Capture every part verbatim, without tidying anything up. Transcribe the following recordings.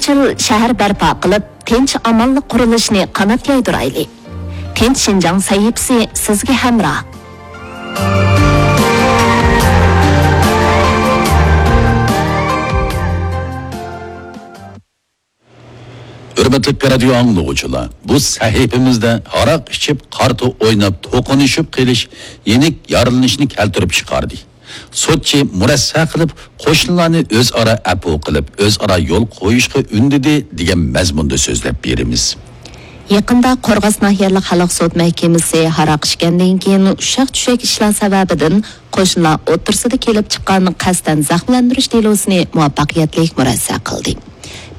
يېڭىچىل شەھەر بەرپا قىلىپ، تىنچ-ئامانلىق قۇرۇلۇشىنى قانات يايدۇرايلى. تىنچ شىنجاڭ سەھىپىسى سىزگە ھەمراھ. ھۆرمەتلىك رادىيو ئاڭلىغۇچىلار، بۇ سەھىپىمىزدە ھاراق ئىچىپ، قارتا ئويناپ، توقۇنۇشۇپ قېلىش يېنىك يارىلىنىشنى كەلتۈرۈپ چىقاردى. سوتچى مۇرەسسە قىلىپ، قوشنىلارنى ئۆزئارا ئەپۇ قىلىپ، ئۆزئارا يول قويۇشقا ئۈندىدى، دېگەن مەزمۇندا سۆزلەپ بېرىمىز. يېقىندا قورغاس ناھىيەلىك خەلق سوت مەھكىمىسى ھاراق ئىچكەندىن كېيىن ئۇششاق-چۈششەك ئىشلار سەۋەبىدىن قوشنىلار ئوتتۇرىسىدا كېلىپ چىققان قەستەن زەخىملەندۈرۈش دېلوسىنى مۇۋەپپەقىيەتلىك مۇرەسسە قىلدى.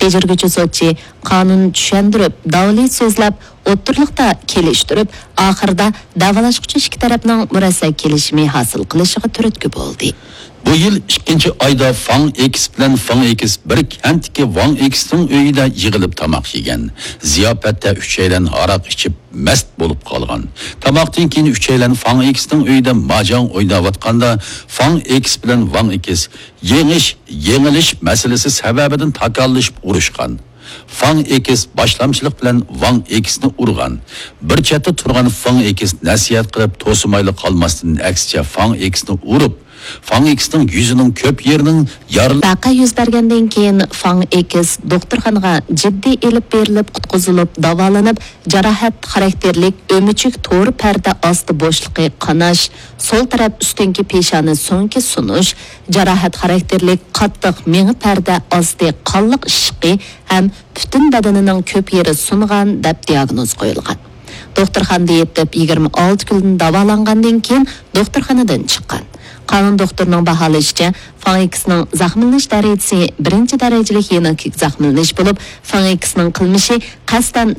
بېجىرگۈچى سوتچى قانۇن چۈشەندۈرۈپ، داۋالى سۆزلەپ، ئوتتۇرىلىقتا كېلىشتۈرۈپ، ئاخىرىدا دەۋالاشقۇچى ئىككى تەرەپنىڭ مۇرەسسە كېلىشىمى ھاسىل قىلىشىغا تۈرتكە بولدى. بۇ يىل ئىككىنچى ئايدا فاڭ ئېكىس بىلەن فاڭ ئېكىس بىر كەنتتىكى ۋاڭ ئېكىسنىڭ ئۆيىدە يىغىلىپ تاماق يېگەن. زىياپەتتە ئۈچەيلەن ھاراق ئىچىپ، مەست بولۇپ قالغان. تاماقتىن كېيىن ئۈچەيلەن فاڭ ئېكىسنىڭ ئۆيىدە ماجاڭ ئويناۋاتقاندا، فاڭ ئېكىس بىلەن ۋاڭ ئېكىس يېڭىش، يېڭىلىش مەسىلىسى سەۋەبىدىن تاكاللىشىپ ئۇرۇشقان. فاڭ ئېكىس باشلامچىلىق بىلەن ۋاڭ ئېكىسنى ئۇرغان. بىر چەتتە تۇرغان فاڭ ئېكىس نەسىھەت قىلىپ توسۇمايلا قالماستىن، ئەكسىچە فاڭ ئېكىسنى ئۇرۇپ، فاڭ ئېكىسنىڭ يۈزىنىڭ كۆپ يېرىنىڭ يارىلىنىپ، ۋەقە يۈز بەرگەندىن كېيىن، فاڭ ئېكىس دوختۇرخانىغا جىددىي ئېلىپ بېرىلىپ، قۇتقۇزۇلۇپ، داۋالىنىپ، جاراھەت خاراكتېرلىك ئۆمۈچۈك تور پەردە ئاستى بوشلۇقى قاناش، سول تەرەپ ئۈستۈنكى پېشانە سۆڭىكى سۇنۇش، جاراھەت خاراكتېرلىك قاتتىق مېڭە پەردە ئاستى قانلىق ئىششىقى ھەم پۈتۈن بەدىنىنىڭ كۆپ يېرى سۇنغان، دەپ دىياگنوز قويۇلغان. دوختۇرخانىدا يېتىپ، يىگىرمە ئالتە كۈندىن داۋالانغاندىن كېيىن دوختۇرخانىدىن چىققان. قانۇن دوختۇرىنىڭ باھالىشىچە، فاڭ ئېكىسنىڭ زەخىملىنىش دەرىجىسى بىرىنچى دەرىجىلىك يېنىك زەخىملىنىش بولۇپ، فاڭ ئېكىسنىڭ قىلمىشى قەستەن